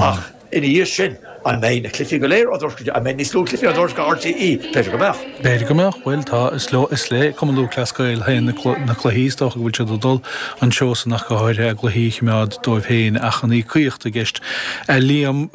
Ach ina dhiaidh sin, an mbeidh na cluichí go léir á dtuairisciú? An mbeidh níos lú cluichí á dtuairisciú ag RTÉ? B'fhéidir go mbeadh. B'fhéidir go mbeadh. Bhuel, tá, is leo, is le Cumann Lúthchleas Gael féin na cluichí, is dócha go bhfuil siad ag dul an seó san ach go háirithe a gcluichí a choimeád dóibh féin ach an íocaíocht i gceist. A Liam.